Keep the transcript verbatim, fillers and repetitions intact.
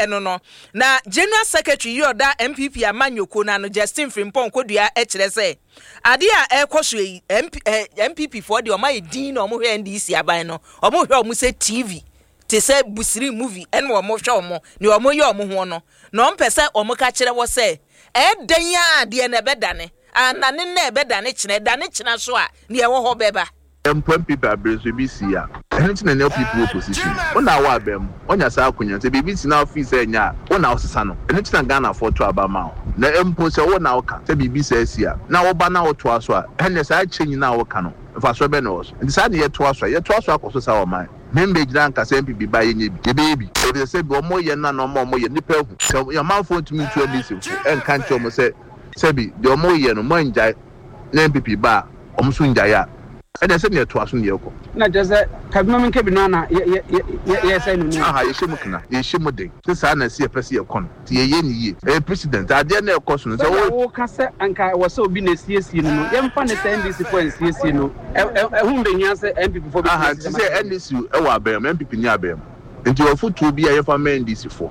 ɛno no. Na General Secretary yi ɔda N P P amanyɔkuo no ano, Justin Frimpong Kodua, kyerɛ sɛ adeɛ a ɛrekɔ so yi, M P, eh, N P P foɔ deɛ, ɔmo ayɛ din na ɔmo hwɛ N D C aban no, ɔmo hwɛ ɔmo sɛ T V te sɛ busiri movie, ɛna ɔmo hwɛ ɔmo nea ɔmo yɛ ɔmo ho no, na ɔmo pɛ sɛ ɔmo ka kyerɛ wɔ sɛ ɛɛdan a adeɛ na ɛbɛdane anane na ɛbɛdane kyerɛ dane kyerɛ so a nea ɛwɔ hɔ bɛba. Mpo N P P abere so ebi si a, ɛno nti na N P P wɔ position wo na awɔ abɛn mu wɔnya saa akonnwa sɛ biribi si na ofi sɛ ɛnyɛ a, wo na wosesa no. Ɛno nti na Ghanafoɔ to aba ma wo. Na mpo sɛ wo na woka sɛ biribi sɛ asi a, na woba na wotoa so a, ɛnɛ saa kyɛ nyinaa a woka no, mfasoɔ bɛ na ɛwɔ so? Nti saa ne yɛtoa so a, yɛtoa so akɔ so saa. Ɔman membɛgyina nka sɛ N P P ba, yɛnyɛ bi, yɛbɛyɛ bi, ɛfisɛ sɛ bi ɔmo yɛ no na ɔmo ɔmo yɛ nipa ahu sɛ ɔmanfoɔ ntumi ntu N D C fo ɛnka nkyerɛ ɔmo sɛ sɛbi deɛ ɔmo yɛ no, mo angyae na N P P ba a, ɔmo so ngyae a, ɛnna sɛ nea ɛtoa so ne yɛkɔ. Na kyerɛ sɛ kabinom nkabi no ana yɛsɛ no no. Aha, yɛhyɛ mu kena, yɛhyɛ mu den sɛ saa na ɛsɛ yɛpɛ sɛ yɛkɔ no, nti yɛyɛ ne yie. Ɛyɛ president adeɛ na ɛkɔ so no sɛ sɛ woka sɛ anka ɛwɔ sɛ obi na esiesie no no yɛmfa ne sɛ N D C foɔ nsiesie no, ɛho mbɛhia sɛ N P P foɔ. Aha, nti sɛ N D C ɛwɔ abɛn mu, N P P ni abɛn mu, nti ɔfotuo bi a yɛfa ma N D C foɔ.